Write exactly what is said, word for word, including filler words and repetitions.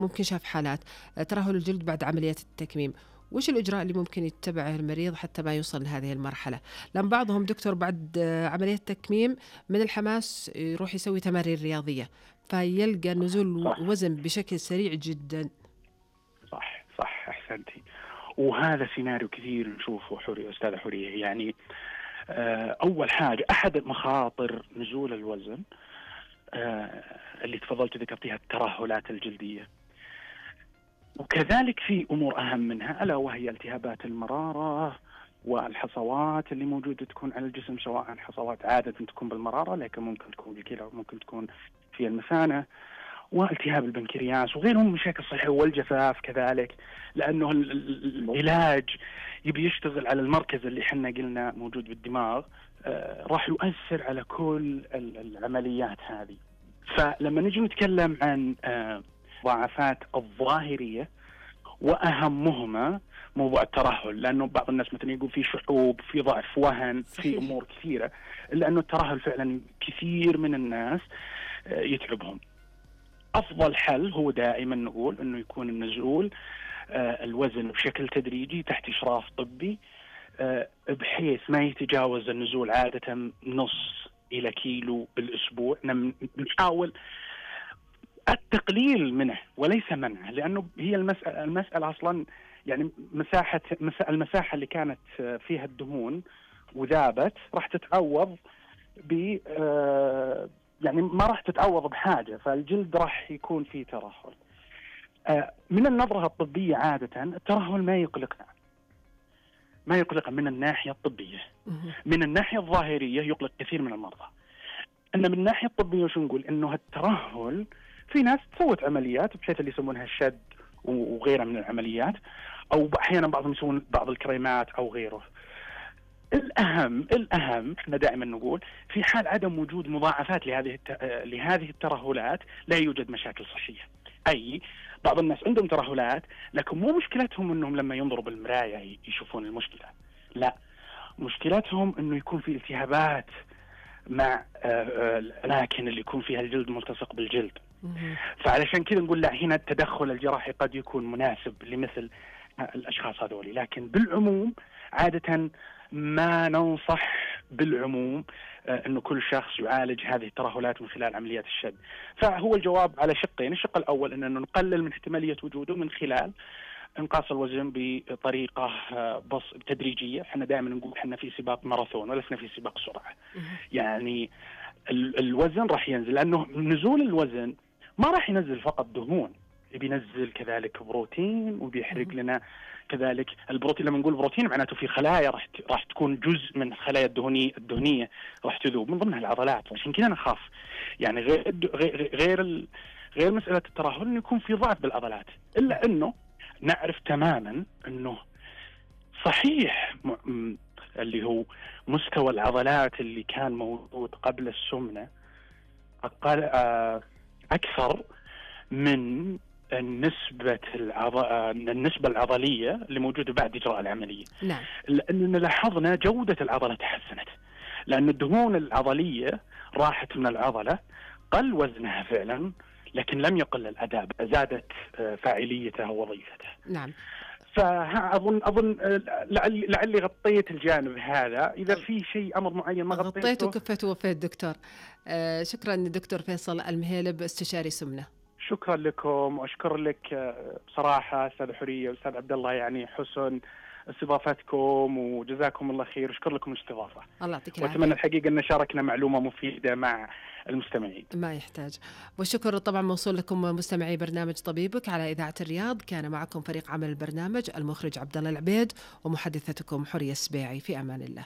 ممكن شاف حالات ترهل الجلد بعد عمليات التكميم، وش الإجراء اللي ممكن يتبعه المريض حتى ما يوصل لهذه المرحلة؟ لأن بعضهم دكتور بعد عملية تكميم من الحماس يروح يسوي تمارين رياضية فيلقى نزول صح وزن بشكل سريع جدا. صح صح أحسنتي. وهذا سيناريو كثير نشوفه حورية أستاذة حورية. يعني آه، أول حاجة أحد مخاطر نزول الوزن آه، اللي تفضلت ذكرتيها الترهلات الجلدية، وكذلك في أمور أهم منها ألا وهي التهابات المرارة والحصوات اللي موجودة تكون على الجسم، سواء حصوات عادة تكون بالمرارة لكن ممكن تكون بالكلى وممكن تكون في المثانة، والتهاب البنكرياس وغيرهم من مشاكل الصحة، والجفاف كذلك، لأنه ال- ال- العلاج يبي يشتغل على المركز اللي حنا قلنا موجود بالدماغ. آه راح يؤثر على كل ال- العمليات هذه. فلما نجي نتكلم عن آه ضعفات الظاهرية وأهمهما موضوع الترهل، لأنه بعض الناس مثلا يقول في شحوب، في ضعف وهن، في صحيح. أمور كثيرة، إلا أنه الترهل فعلا كثير من الناس آه يتعبهم. أفضل حل هو دائما نقول أنه يكون النزول آه الوزن بشكل تدريجي تحت إشراف طبي، آه بحيث ما يتجاوز النزول عادة نص إلى كيلو بالأسبوع. نحاول التقليل منه وليس منعه، لأنه هي المسألة, المسألة أصلا يعني مساحة المساحة اللي كانت فيها الدهون وذابت راح تتعوض ب آه يعني ما راح تتعوض بحاجة، فالجلد راح يكون فيه ترهل. آه من النظرة الطبية عادة الترهل ما يقلقنا، ما يقلق من الناحية الطبية. من الناحية الظاهرية يقلق كثير من المرضى. أن من الناحية الطبية وش نقول؟ إنه الترهل في ناس سوت عمليات بحيث اللي يسمونها الشد وغيرها من العمليات، أو أحيانا بعضهم يسوون بعض الكريمات أو غيره. الأهم الأهم احنا دائما نقول في حال عدم وجود مضاعفات لهذه لهذه الترهلات لا يوجد مشاكل صحية. أي بعض الناس عندهم ترهلات لكن مو مشكلتهم انهم لما ينظروا بالمراية يشوفون المشكلة، لا، مشكلتهم انه يكون في التهابات مع الأماكن اللي يكون فيها الجلد ملتصق بالجلد. فعلشان كذا نقول لا، هنا التدخل الجراحي قد يكون مناسب لمثل الأشخاص هذولي، لكن بالعموم عادة ما ننصح بالعموم أنه كل شخص يعالج هذه الترهلات من خلال عمليات الشد. فهو الجواب على شقين. الشق الأول أنه نقلل من احتمالية وجوده من خلال انقاص الوزن بطريقة بص تدريجية. احنا دائما نقول احنا في سباق ماراثون ولسنا في سباق سرعة. يعني ال- الوزن راح ينزل، لأنه نزول الوزن ما راح ينزل فقط دهون، بينزل كذلك بروتين وبيحرق لنا كذلك البروتين. لما نقول بروتين معناته في خلايا راح راح تكون جزء من الخلايا الدهنية الدهنية راح تذوب من ضمنها العضلات. عشان كذا نخاف يعني غير غير غير, ال... غير مسألة الترهل انه يكون في ضعف بالعضلات، الا انه نعرف تماما انه صحيح م... اللي هو مستوى العضلات اللي كان موجود قبل السمنة أقل أكثر من النسبة العض... النسبة العضلية اللي موجودة بعد إجراء العملية. نعم. لأننا لاحظنا جودة العضلة تحسنت، لأن الدهون العضلية راحت من العضلة، قل وزنها فعلا لكن لم يقل الأداء، زادت فاعليتها ووظيفتها. نعم. فأظن أظن لعلي لعلي غطيت الجانب هذا. إذا في شيء أمر معين ما غطيته غطيته وكفيت ووفيت دكتور. آه شكرا دكتور فيصل المهيلب استشاري سمنة. شكرا لكم وأشكر لك بصراحة أستاذ حورية وأستاذ عبد الله، يعني حسن استضافتكم وجزاكم الله خير. أشكر لكم الاستضافة. الله يعطيك العافية. وأتمنى الحقيقة أن شاركنا معلومة مفيدة مع المستمعين. ما يحتاج. والشكر طبعا موصول لكم مستمعي برنامج طبيبك على إذاعة الرياض. كان معكم فريق عمل البرنامج المخرج عبد الله العبيد ومحدثتكم حورية السبيعي. في أمان الله.